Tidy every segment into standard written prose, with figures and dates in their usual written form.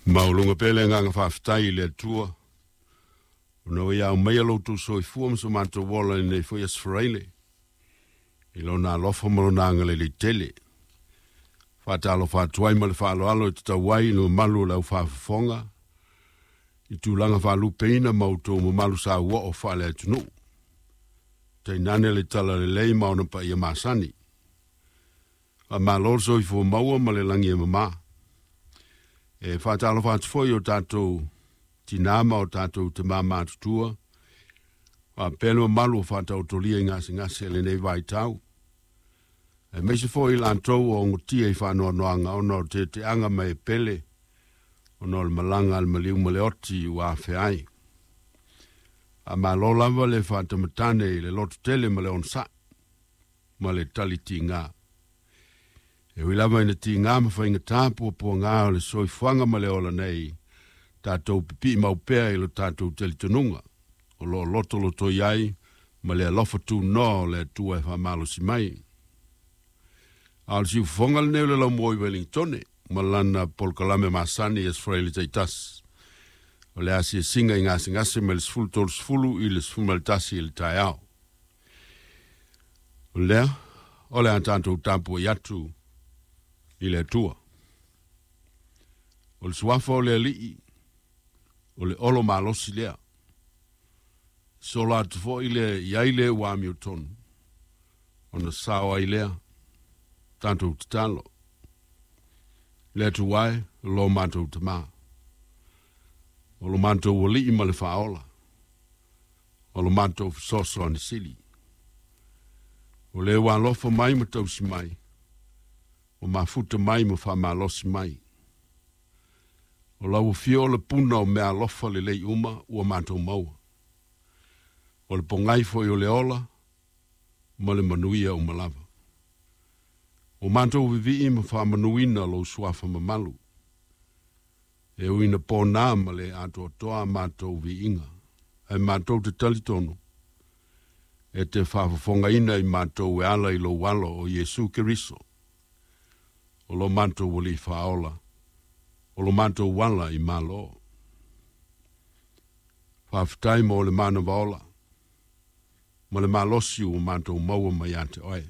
Maualuga pea le agaga faafetai i le Atua ona ua ia aumaia lo outou soifua ma so matou ola i lenei foi Aso Faraile i Lona alofa ma Lona agalelei tele. Faatalofa atu ai ma le faaaloalo e tatau ai i le mamalu o le aufaafofoga i tulaga faalupeina ma outou mamalu sauoo faale-atunuu. Tainane le talalelei ma ona paia masani. Faamalo le soifua maua ma le lagi e mama. E faatalofa atu foi i o tatou tinā ma o tatou tamā matutua, faapea le mamalu o faataotolia i gasegase i lenei vaitau. Aemaise foi i latou o ogotia i faanoanoaga ona o teteaga ma e pele, ona o le malaga a le maliu ma le oti ua afea ai. Faamalo lava le faatamatane i le loto tele ma le onosai ma le tali tiga. E ui lava ina tiga ma faigata puapuaga o le soifuaga ma le ola nei, tatou pipii mau pea i lo tatou talitonuga o lo o lotolotoi ai ma le alofa tunoa o le Atua e faamalosi mai. A o le siufofoga lenei o le laumua i Wellingtone ma lana polokalame masani i Aso Faraile taitasi. O le asiasiga i gasegase mai le 13:30 i le 11 i le taeao. O lea, o le a tatou tapuai atu i le Atua. O le suafa o le Alii, o le olo malosi lea. Sola atu foi le i ai le ua amiotonu, ona sao ai lea, tatou tatalo. Le Atua e, lo matou Tamā. O lo matou Alii ma le Faaola. O lo matou fesoasoani sili. O le ua alofa mai ma tausi mai, ua mafuta mai ma faamalosi mai. O lau afio o le puna o mea alofa lelei uma ua matou maua. O le pogai foi o le ola ma le manuia uma lava. Ua matou vivii ma faamanuina lou suafa mamalu. E ui ina pona ma le atoatoa a matou viiga, ae matou te talitonu e te faafofogaina i matou e ala i lou alo o Iesu Keriso, o lo matou Alii Faaola, o lo matou ala i Malo. Faafetai mo le manava ola ma le malosi ua matou maua mai ia te oe.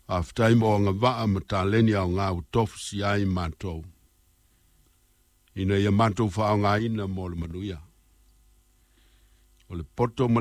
Faafetai mo agavaa ma taleni aoga ua tofusia ai matou, ina ia matou faaaogaina mo le manuia. O le poto ma